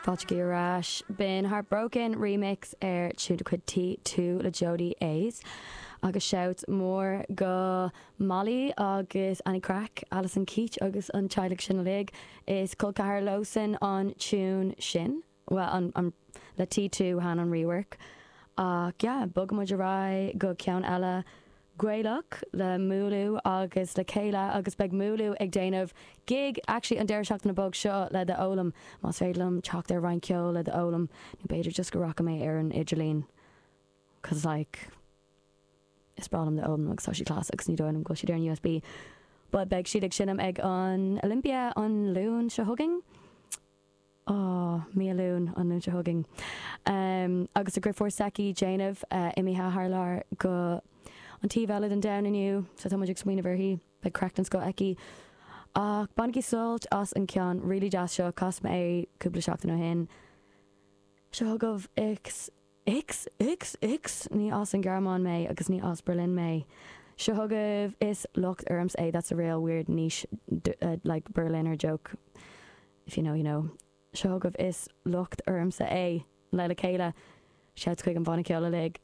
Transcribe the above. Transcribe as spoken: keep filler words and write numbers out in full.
Fáilte ar ais b'in Heartbroken remix ar tune de chuid T two le Jodie A's. Agus shout mór go Molly agus Annie Crack, Alison Keach agus an teaghlach sin uilig is col ceathar leosan an tune sin. Well an, an, le T two han an rework. Ach yeah, bogfaidh muid ar aghaidh go ceann eile Gaelach le Múlú agus le chéile agus beidh Múlú ag déanamh gig actually an deireadh seachtaine beag seo le The Olam más féidir liom teacht ar roinnt ceoil le The Olam nó b'fhéidir just go rachaidh mé ar an idirlíon. Cause like is breá liom The Olam agus tá siad class agus ní dóigh liom go bhfuil siad ar an USB. But beidh siad ag seinm ag an Olympia an Luan seo chugainn. Oh, mí Luan an Luan seo chugainn. Um, agus a deirfiúr s'aici déanamh uh, imithe thar lear go an taobh eile den domhan inniu, so tá muid ag smaoineamh uirthi, beidh craic den scoth aici. Ach bainigí sult as an ceann really deas seo chas mé é cúpla seachtain ó shin. Seo chugaibh X X X X ní as an Ghearmáin mé agus ní as Berlin mé. Seo chugaibh is locht ormsa é that's a real weird niche uh, like Berliner joke. If you know, you know. Seo chugaibh is locht ormsa é le le chéile. Shout chuig an bhanna ceoil uilig.